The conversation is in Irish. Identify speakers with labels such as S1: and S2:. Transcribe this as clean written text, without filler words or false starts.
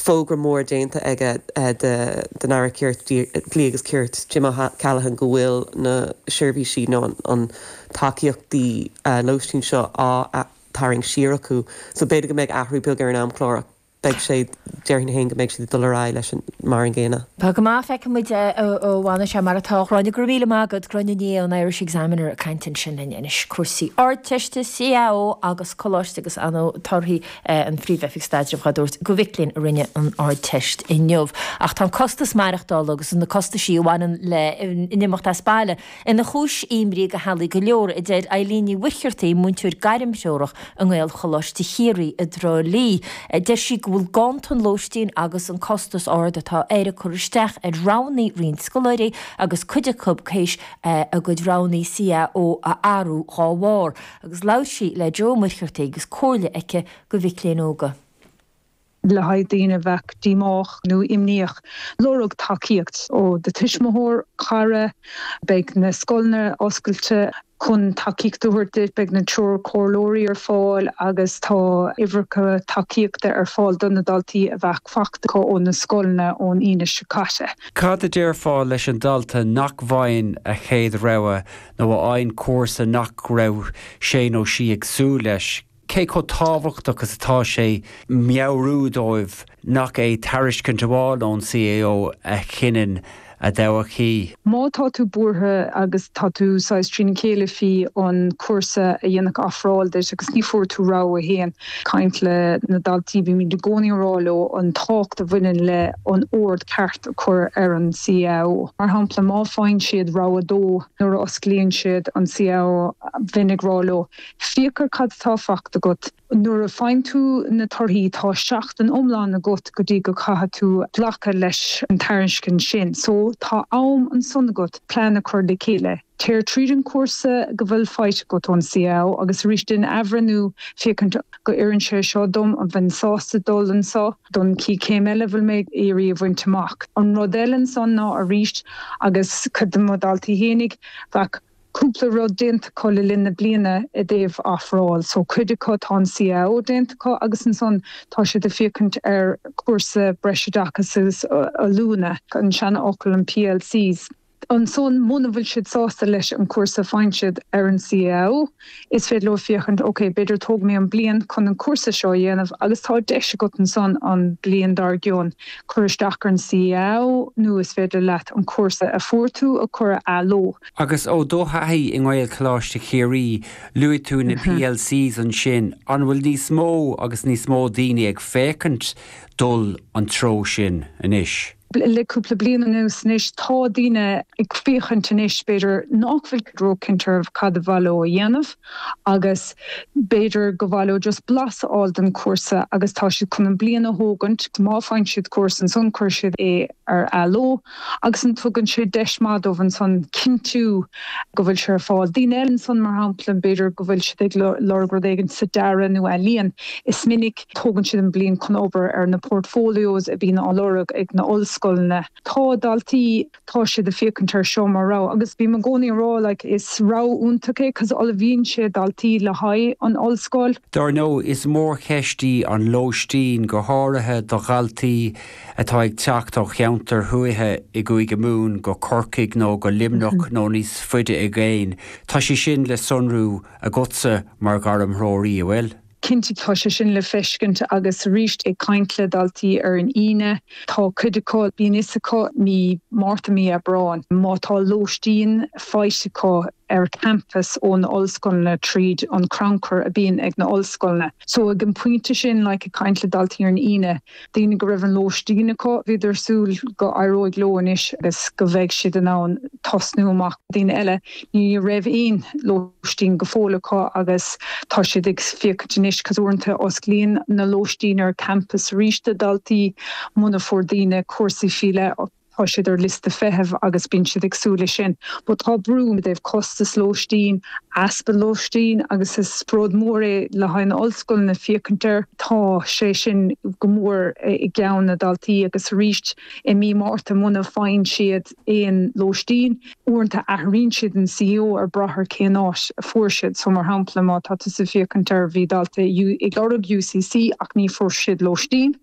S1: fógra mór déanta aige den Aire Cirt, Dlí agus Cirt, Jim O'Callaghan go bhfuil na seirbhísí nó an tacaíochtaí lóistín seo á tarraingt siar acu. So b'fhéidir go mbeidh athrú beag ar an amchlár ach beidh sé, déarfainn féin go mbeidh siad ag dul ar aghaidh leis an mar an gcéanna.
S2: Tá go maith, feicfidh muid ó bhfanfaidh sé mar atá. Gráinne, go raibh míle maith agat. Gráinne Ní Aodha ón Irish Examiner ag caint ansin linn anois. Cúrsaí Ardteiste, CAO agus Coláiste agus ar ndóigh torthaí an Phríomh-Oifig Staidrimh dhá dtabhairt do mhic léinn a rinne an Ardteist inniu. Ach tá an costas maireachtála agus na costaisí a bhaineann le n-imeacht as baile ina chúis imní do theaghlaigh go leor, a deir Eileen Ní Mhuircheartaigh, múinteoir gairmthreorach i nGaelcholáiste Chiarraí i dTrá Lí. Deir sí go bhfuil ganntan lóistín agus an costas ard atá air ag cur isteach ar roghanna roinnt scoláirí agus cuid acu théis a gcuid roghanna CAO a athrú dhá bharr. Agus labhair sí le Joe Ó Muircheartaigh agus comhairle aici do mhic léinn óga.
S3: le haghaidh daoine a bheadh díomách nó imníoch, lorg tacaíocht ó do tuismitheoir, cara. Beidh na scoileanna oscailte chun tacaíocht a thabhairt duit, beidh na treoirchomhairleoirí ar fáil agus tá uimhreacha tacaíochta ar fáil do na daltaí a bheadh faighte acu ó na scoileanna ón Aoine seo caite.
S4: Cad a déarfá leis an dalta nach bhfaigheann a chéad rogha nó a fhaigheann cúrsa nach raibh sé nó sí ag súil leis? Cé chomh tábhachtach is atá sé meabhrú dóibh nach é tairiscint amháin ón CAO a chinneann a dtodhchaí?
S3: Má tá tú buartha agus tá tú saghas trína chéile faoi an cúrsa a dhéanfadh ofráil duit agus ní fuair tú rogha a haon, caint le na daltaí, bímid i gcónaí ag rá leo an tábhacht a bhaineann le an ord ceart a chur ar an CAO. Mar shampla, má faigheann siad rogha a dó nuair a osclaíonn siad an CAO, bheinn ag rá leo, Féach ar cad atá faighte agat. Nuair a faigheann tú na torthaí, tá seachtain iomlán agat go dtí go caithfidh tú glacadh leis an tairiscint sin. So, tá am ansan agat plean a chur le chéile. Téir tríd an chúrsa go bhfuil faighte agat ón CAO agus arís déan athbhreithniú féachaint go oireann sé seo dom, an bheinn sásta dul anso don chéad chéim eile a bhfuil mé ag iarraidh a bhaint amach. An rud eile ansan ná arís, agus cuid de mo dhaltaí fhéinig, bheadh. cúpla rud déanta acu le linn na bliana i dtaobh ofráil. So cuid acu tá an CAO déanta acu agus ansan tá siad ag féachaint ar chúrsa breisoideachais agus oiliúna, an seanfhocal an PLCs. Ansan muna bhfuil siad sásta leis an chúrsa a faigheann siad ar an CAO, is féidir leo féachaint ok b'fhéidir tógfaidh mé an bliain chun an cúrsa seo a dhéanamh agus tá deis agat ansan an bliain dár gcionn cur isteach ar an CAO nó is féidir leat an cúrsa a fuair tú a chur ar athló.
S4: Agus ó do thaithí i nGaelcholáiste Chiarraí, luaigh tú na PLCs ansin, an bhfuil níos mó agus níos mó daoine ag féachaint dul an treo sin anois?
S3: Le cúpla bliain anuas anois, tá daoine ag féachaint anois, b'fhéidir, nach bhfuil róchinnte ar cad a mhaith leo a dhéanamh agus b'fhéidir go mhaith leo just blas a fháil den chúrsa agus tá siad chun an bliain a thógaint, má faigheann siad cúrsa ansan cuirfidh siad é ar athló. agus an tugann sé deis maith dóibh ansan cinntiú go bhfuil sé ar fáil. Daoine eile ansan, mar shampla, b'fhéidir go bhfuil siad ag lorg rud éigin sa dearadh nó ealaíon. Is minic tógann siad an bliain chun obair ar na portfolios a bhíonn á lorg ag na ollscoileanna. Tá daltaí, tá siad ag féachaint ar seo mar rogha agus bím i gcónaí ag rá like is rogha iontach é 'cause ullmhaíonn sé daltaí le haghaidh an ollscoil.
S4: Dar ndóigh, is mórcheist í an lóistín, go háirithe do dhaltaí atá ag teacht ó cheantair thuaithe i gCúige Mumhan go Corcaigh nó go Luimneach nó níos faide i gcéin. Tá sé sin le sonrú agatsa mar ghairmthreoraí, an bhfuil?
S3: Cinnte, tá sé sin le feiscint agus arís ag caint le daltaí ar an Aoine, tá cuid acu, bíonn fhios acu mí Márta, mí Aibreáin, má tá lóistín faighte acu ar campus ó na ollscoileanna tríd an crannchur a bíonn ag na ollscoileanna. So ag an pointe sin, like ag caint le daltaí ar an Aoine, daoine go raibh an lóistín acu, bhíodar ag súil go éireoidh leo anois agus go mbeidh siad in ann tosnú amach. Daoine eile, ní raibh aon lóistín go fóill acu agus tá siad ag féachaint anois cos uaireanta osclaíonn na lóistín ar campus arís do dhaltaí muna fuair daoine cúrsaí faoi leith. Tá siad ar liosta feithimh agus bíonn siad ag súil leis sin. But tá brú i dtaobh costas lóistín, easpa lóistín agus is rud mór é le haghaidh na ollscoileanna féachaint air. Tá sé sin go mór i gceann na daltaí agus arís i mí Márta muna faigheann siad aon lóistín, uaireanta athraíonn siad an CAO ar brath ar cén áit a fuair siad. So mar shampla má tá tusa ag féachaint air bhí dalta ag lorg UCC ach ní fuair siad lóistín.